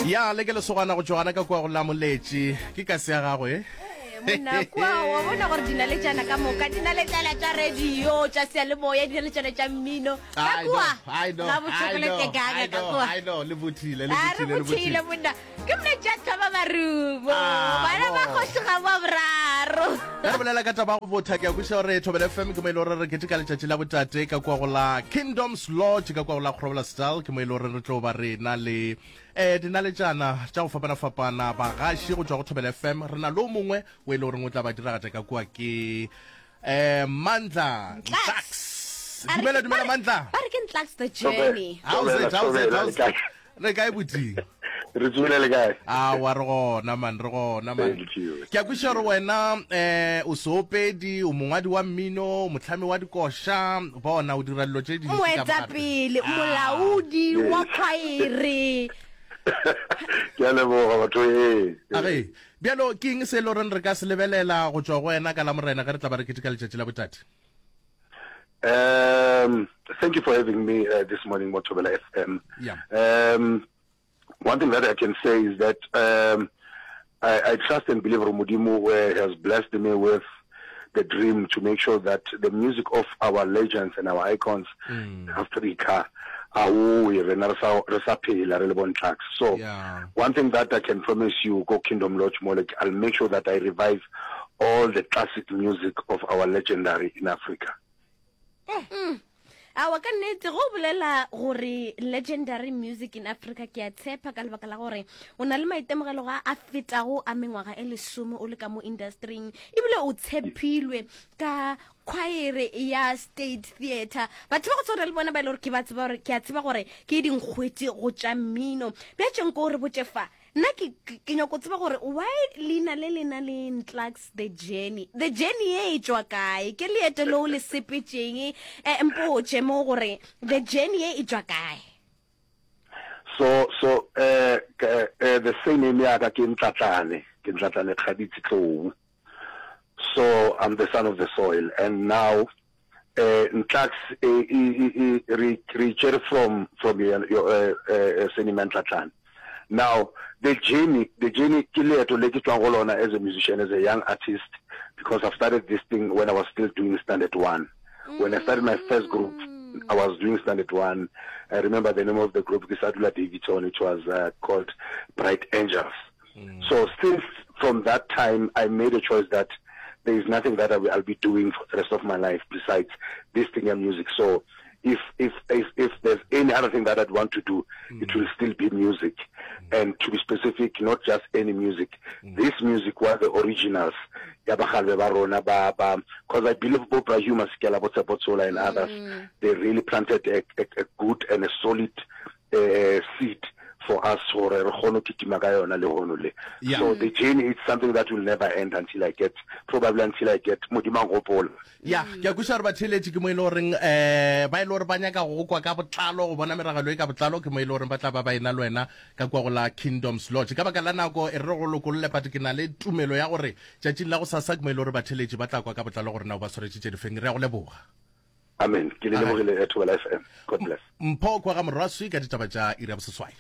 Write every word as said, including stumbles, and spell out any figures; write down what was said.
Ya le ke lesogana go tšwa gana ka kua go la Moletši. Ke kasi ya gagwe. Monna kua wa bona gore dinaletšana ka moka, dinaletšana tša radio, tša seyalemoya, dinaletšana tša mmino ka kua ga bochocolate kaka ka kua. I know, le bothile, le A re bothile, le bothile bothile. monna. Ke monna tša thoma marumo. Ah, Bana ba bo. kgoši ga ba boraro. Ge re bolela ka taba ya go botha, ke a kwešiša gore Thobela F M ke mo e le gore re keteka letšatši la botate ka kua go la Kingdoms Lodge ka kua go la Groblersdal. Ke mo e le gore re tlo ba re na le eh dinaletšana tša go fapana-fapana, bagaši go tšwa go Thobela F M. Re na le o mongwe o e le goreng o tla ba diragatša ka kua, ke eh Mandla Ntlaks. A re Dumela, ke- dumela ba re- Mandla. Ba re ke Ntlaks the journey. How's it, how's it, Thobela, how's le kae? Re kae buti? Re tsogile le kae? Awa re gona man, re gona man. Thank you. Ke a kwešiša gore wena eh o seopedi, o mongwadi wa mmino, o mohlami wa dikoša, bona o dira dilo tše dintši ka mogare. Moetapele, molaodi wa khwaere. Ke a leboga batho ee. Age, bjalo ke eng se e le goreng re ka se lebelela go tšwa go wena ka Lamorena ge re tla ba re keteka letšatši la botate? Um, thank you for having me uh, this morning, mo Thobela F M. Yeah. Um, one thing that I can say is that um, I, I trust and believe Modimo uh, has blessed me with the dream to make sure that the music of our legends and our icons mm. in Africa aowe rena re sa re sa phela re le bo Ntlaks. So Yeah. one thing that I can promise you, go Kingdom Lodge Molek, I'll make sure that I revive all the classic music of our legendary in Africa. Mm. Awa ka nnete go bolela gore legendary music in Africa ke a tshepa ka lebaka la gore o na le maitemogelo ga a fetago a mengwaga e lesome o le ka mo industryng, ebile o tshepilwe ka khwaere ya State Theatre. Batho ba go tshwana le bona ba e le gore ke ba tseba gore ke a tseba gore ke dinkgwete go tša mmino. Bja tšeng ko re botše fa, nna ke, ke, ke nyako tseba gore why leina le le na le Ntlaks the Journey. The Journey ye e tšwa kae? Ke leeto leo le sepetšeng, eh, mpotše mo gore The Journey ye e tšwa kae? So, so, eh, ke, eh, the surname ya ka ke Ntlatlane, ke Ntlatlane Kgaditsi Tlou. So I'm the son of the soil, and now eh, Ntlaks e, e, e, e, re, re tšere from, from your, your, eh, eh, surname ya Ntlatlane. Now the journey, the journey ke leeto le ke tšwang go lona as a musician, as a young artist, because I've started this thing when I was still doing Standard One. When I started my first group, I was doing Standard One. I remember the name of the group, ke sa dula Daveyton, it was, uh, called Bright Angels. Mm. So since from that time, I made a choice that there is nothing that I will, I'll be doing for the rest of my life besides this thing and music. So if, if, if, if there's any other thing that I'd want to do, mm. it will still be music. Mm. And to be specific, not just any music. Mm. This music was the originals. Ya ba kgale ba rona ba, ba, 'cause I believe bo Bra Hugh Masekela, bo Tshepo Tshola and others, Mm. they really planted a, a, a good and a solid, uh, seed for us gore re kgone go kitima ka yona le hono le. Yeah. So the journey is something that will never end until I get, probably until I get Modimo a nkgopola. Ya, ke a kwešiša gore batheeletši ke mo e le goreng, eh, ba e le gore ba nyaka go kwa ka botlalo, go bona meragelo e ka botlalo, ke mo e le goreng ba tla ba ba ena le wena ka kua go la Kingdoms Lodge. Ka baka la nako e re re go lokolle, but ke na le tumelo ya gore tšatšing la go sasa ke mo e le gore batheeletši ba tla kwa ka botlalo gore na o ba swaretše tše difeng. Re a go leboga. Amen. Ke le Amen. lebogile, Thobela F M. God bless. Mpho kwa ga Morwaswi ka ditaba tša iri ya boseswai.